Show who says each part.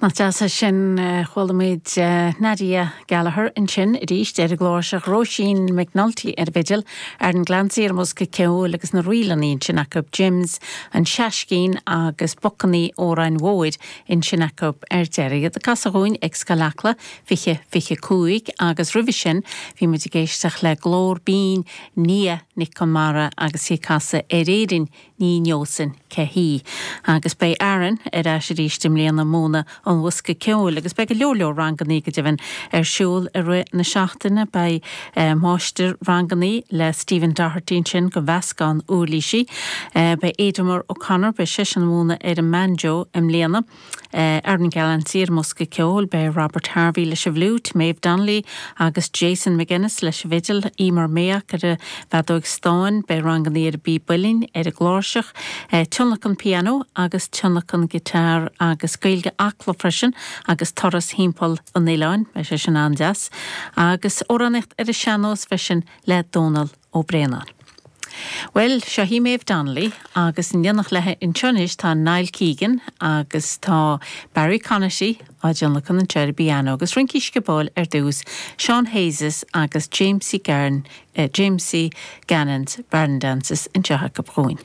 Speaker 1: Nach deas é sin? Chuala muid Nadia Gallagher ansin arís ar an gcláirseach, Róisín McNulty ar an bhfidil, Aaron Glancy ar an mbosca ceoil agus na ríleanna ansin acu, Jims, an Seaiscín agus Bocannaí Óráin Mhóir ansin acu ar deireadh. Iad ag casadh dhúinn ag Scoil Acla 20, 25 agus roimhe sin bhí muid ag éisteacht le glór binn Nia Nic Conmara agus í ag casadh Ar Éirinn Ní Neosainn Cé hÍ. Agus beidh Aaron ar ais arís i mbliana ag múineadh an bhosca ceoil agus beidh go leor leor rangannaí go deimhin ar siúl i rith na seachtaine. Beidh máistir rangannaí le Stephen Doherty ansin do mheascán uirlísí. Beidh Aidomar O'Connor, beidh seisean ag múineadh ar an mbanjo i mbliana. Aaron Glancy ar an mbosca ceoil, beidh Robert Harvey leis an bhfliúit, Maeve Donnelly agus Jason McGuinness leis an bhfidil, Emer Mayock ar an bhfeadóig stáin, beidh rangannaí ar an bpíb uilleann, ar an gcláirseach, tionlacan pianó agus tionlacan guitar agus Gaeilge Acla freisin agus turas thimpeall an oileáin, beidh sé sin an-deas, agus amhránaíocht ar an sean-nós freisin le Dónal Ó Braonáin. Bhuel, seo í Maeve Donnelly agus in éineacht léi anseo anois tá Niall Keegan agus tá Barry Conaty á dtionlacan anseo ar an bpianó agus rincí sciobóil ar dtús, Seán Hayes' agus Jamesie Garn, Jamesie Gannon's Barn Dances anseo acu dhúinn.